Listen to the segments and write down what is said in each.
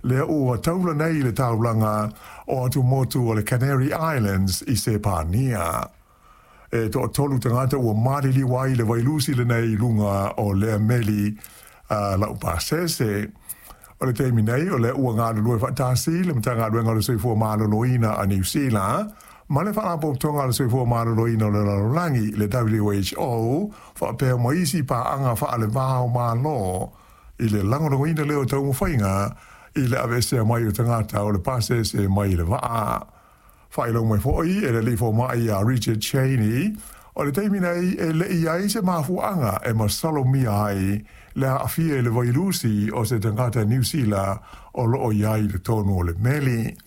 Lea ua taula nei i le taulaga o atumotu o le Canary Islands i Sepania. E toatolu tagata ua maliliu ai i le vailusi lenei i luga o lea meli laupasese. O le taimi nei, o lea ua galulue faatasi le Matagaluega o le Soifua Maloloina a Niu Sila ma le Faalapotopotoga a le Soifua Maloloina o le Lalolagi, le WHO, faapea ma isi paaga faaleva o Malo i le lagolagoina lea o taumafaiga i le aveesea mai o tagata o le pasese mai le vaa. Faailoa mai foi e le alii fomai ia Richard Cheney, o le taimi nei e le i ai se mafuaaga e masalomia ai le aafia i le vailusi o se tagata Niu Sila o loo i ai i totonu o le meli.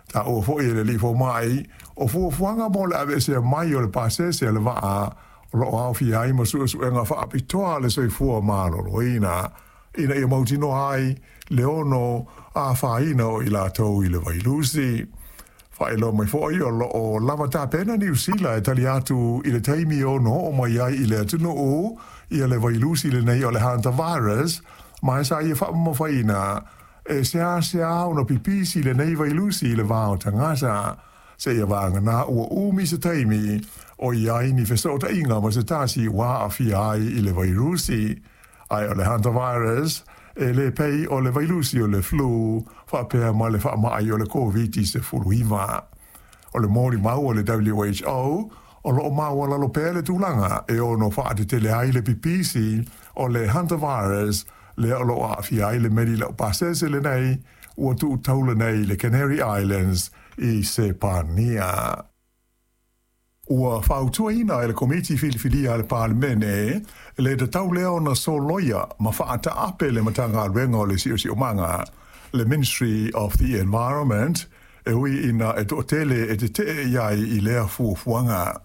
Taua foi e le alii fomai, o fuafuaga mo le aveesea mai o le pasese a le vaa o loo aofia ai ma suesuega faapitoa a le soifua maloloina ina ia mautinoa ai le ono afaina o i latou i le vailusi. Faailoa mai foi o loo lava tapena Niu Sila e tali atu i le taimi e ono oo mai ai i le atunuu ia le vailusi lenei o le hantavirus, ma e sa ia faamamafaina e seasea ona pipisi lenei vailusi i le va o tagata, seia vagana ua umi se taimi o i ai ni fesootaiga ma se tasi ua aafia ai i le vairusi. Ae o le hantavirus e le pei o le vailusi o le flu faapea ma le faamai o le Koviti-19. O le molimau a le WHO, o loo maualalo pea le tulaga e ono faatetele ai le pipisi o le hantavirus lea o loo aafia ai le meli laupasese lenei ua tuu taula nei i le Canary Islands i Sepania. Ua fautuaina e le Komiti Filifilia a le Palemene le tatau lea ona soloia ma faataape le Matagaluega o le Siosiomaga, le Ministry of the Environment, e ui ina e toatele e tetee i ai i lea fuafuaga.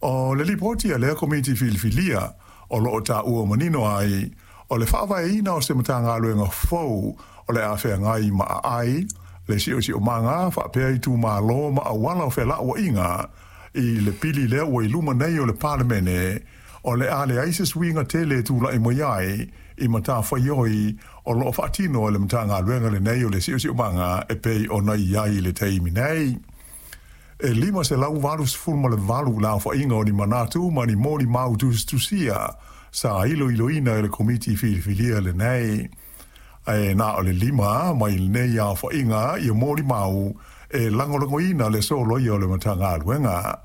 O le lipoti a lea Komiti Filifilia o loo taua manino ai, o le faavaeina o se Matagaluega fou o le a feagai ma aai, le siosiomaga faapea itumalo ma auala o felauaiga i le pili lea ua i luma nei o le Palemene, o le a leai se suiga tele e tulai mai ai i matafaioi o loo faatino e le Matagaluega lenei o le Siosiomaga e pei ona i ai i le taimi nei. E 588 le aofaiga o ni manatu ma ni molimau tusitusia sa iloiloina e le Komiti Filifilia lenei. Ae na o le 5 mai lenei aofaiga ia molimau e lagolagoina le soloia o le Matagaluega.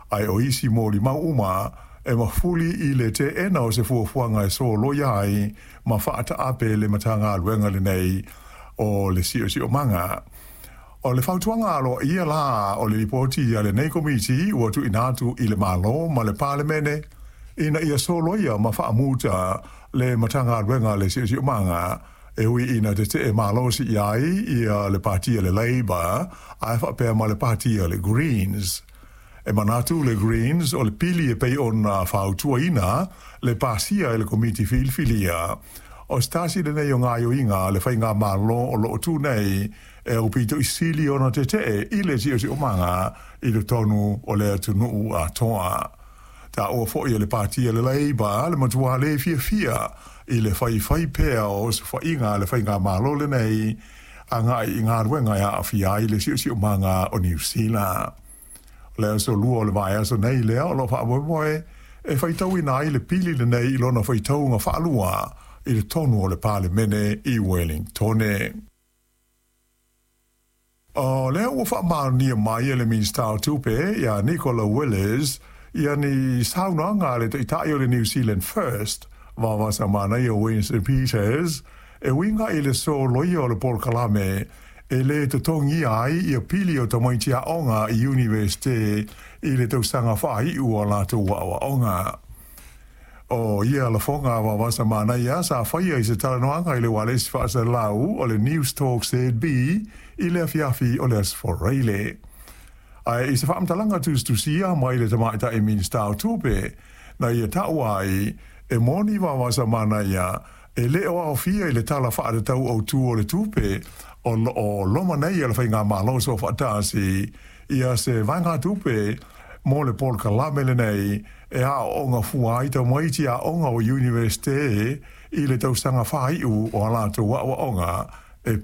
Ae o isi molimau uma e mafuli i le teena o se fuafuaga e soloia ai ma faataape le Matagaluega lenei o le Siosiomaga. O le fautuaga aloaia la o le lipoti a lenei Komiti ua tuuina atu i le Malo ma le Palemene ina ia soloia ma faamuta le Matagaluega a le Siosiomaga, e ui ina tetee malosi i ai ia le Pati a le Labour ae faapea ma le Pati a le Greens. E manatu le Greens o le pili e pei ona fautuaina le pasia e le Komiti Filifilia, o se tasi lenei o gaoioiga a le faigamalo o loo tu nei e aupito i sili ona tetee i le siosiomaga i totonu o le atunuu atoa. Taua foi e le Pati a le Labour le matua le fiafia i le faifai pea o osofaiga a le faigamalo lenei agai i galuega e aafia ai le siosiomaga o Niu Sila. O le aso Lua o le vaiaso nei lea o loo faamoemoe e faitauina ai le pili lenei i lona faitauga faalua i totonu o le Palemene i Wellingtone. O lea ua faamaonia mai e le Minisita o Tupe ia Nicola Willis ia ni saunoaga a le Taitai o le New Zealand First, Vavasa Manaia Winston Peters, e uiga i le soloia o le polokalame e lē totogia ai ia pili o tamaiti aoga i Iunivesite i le tausaga faaiu o latou aoaoga. O ia lafoga a Vavasa Manaia sa faia i se talanoaga i le ualesi faasalalau o le News Talk ZB i le afiafi o le Aso Faraile. Ae i se faamatalaga tusitusia mai le tamaitai Minisita o Tupe na ia taua ai e moni Vavasa Manaia e le o aofia i le Tala Faatatau Autu o le Tupe o loo loma nei a le faigamalo soofaatasi ia se vaegatupe mo le polokalame lenei e aooga fua ai tamaiti aoga o Iunivesite i le tausaga faaiu o a latou aoaoga.